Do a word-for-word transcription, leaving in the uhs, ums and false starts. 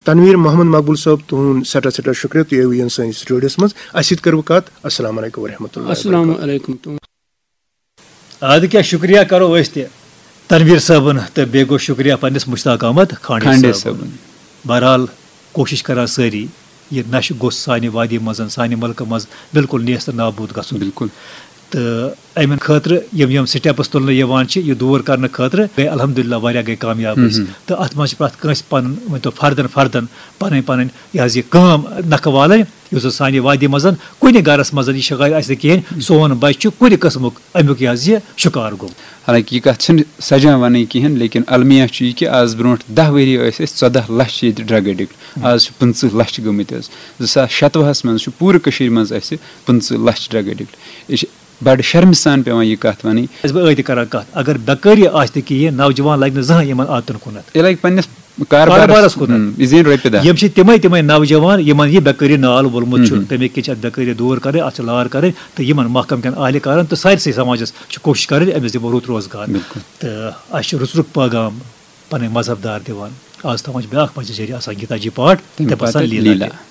تنویر محمد مقبول صٲب، تُہُنٛد سٮ۪ٹھاہ سٮ۪ٹھاہ شُکریہ، تُہۍ آیوٕ یِن سٲنِس سٹوڈیوَس منٛز۔ اَسہِ سۭتۍ کٔروٕ کَتھ۔ السلام علیکم ورحمۃ اللہ وبرکاتہ۔ السلام علیکم۔ تُہُنٛد اَدٕ کیٛاہ، شُکریہ کَرو أسۍ تہِ تنویر صٲبُن، تہٕ بیٚیہِ گوٚو شُکریہ پنٛنِس مشتاق احمد کھانڈے کھانڈے صٲبُن۔ صٲبُن۔ بہرحال، کوٗشِش کَران سٲری، یہِ نَشہٕ گوٚژھ سانہِ وادی منٛز، سانہِ مُلکہٕ منٛز بِلکُل نیست نابوٗد گژھُن۔ بِلکُل۔ تہٕ اَمہِ خٲطرٕ یِم یِم سٹیپٕس تُلنہٕ یِوان چھِ، یہِ دوٗر کَرنہٕ خٲطرٕ گٔے الحمدللہ واریاہ گٔے کامیاب أسۍ۔ تہٕ اَتھ منٛز چھِ پرٛٮ۪تھ کٲنٛسہِ پَنُن، ؤنۍ تو، فردَن فردَن پَنٕنۍ پَنٕنۍ یہِ حظ یہِ کٲم نَکھٕ والٕنۍ، یُس زَن سانہِ وادی منٛز کُنہِ گَرَس منٛز یہِ شِکایت آسہِ نہٕ کِہیٖنۍ، سون بَچہِ چھُ کُنہِ قٕسمُک اَمیُک یہِ حظ یہِ شِکار گوٚمُت۔ حالانکہ یہِ کتھ چھنہٕ سجان ونٕنۍ کہینۍ، لیکن المیہ چھُ یہِ کہِ از برونٹھ دہ ؤری ٲسۍ أسۍ ژۄدہ لچھ ییٚتہِ ڈرگ ایڈکٹ، از چھِ پٕنٛژٕہ لچھ گٔمٕتۍ حظ۔ زٕ ساس شتوُہس منٛز چھُ پوٗرٕ کٔشیٖرِ منٛز اسہِ پٕنٛژٕہ لچھ ڈرگ ایڈکٹ۔ یہِ چھِ بڑٕ شرمہِ سان پٮ۪وان یہِ کتھ ونٕنۍ۔ چھُس بہٕ ٲدۍ کران کتھ، اگر بیکٲری آسہِ نہٕ کِہیٖنۍ، نوجوان لگہِ نہٕ زٕہٕنۍ یِمن عادتن کُنتھ۔ یہِ لگہِ پننِس کاربارس کاربارس کُنتھ۔ ہُم، یہِ زینہِ رۄپیہِ دہ۔ یِم چھِ تِمے تِمے نوجوان یِمن یہِ بیکٲری نال وولمُت چھُ، تمے کِنۍ چھِ اتھ بیکٲری دوٗر کرٕنۍ، اتھ چھِ لار کرٕنۍ، تہٕ یِمن محکم کٮ۪ن اہلہِ کارن تہٕ سارسٕے سماجس چھِ کوٗشش کرٕنۍ أمِس دِمو رُت روزگار۔ تہٕ اسہِ چھُ رُت رُت پیغام پنٕنۍ مذہب دار دِوان۔ آز تھاوان چھِ بیاکھ مسجد جٲری آسان گیتا جی پاٹھ، تمہِ تہٕ بسان پتہٕ لیلا لیلا۔ تہِ۔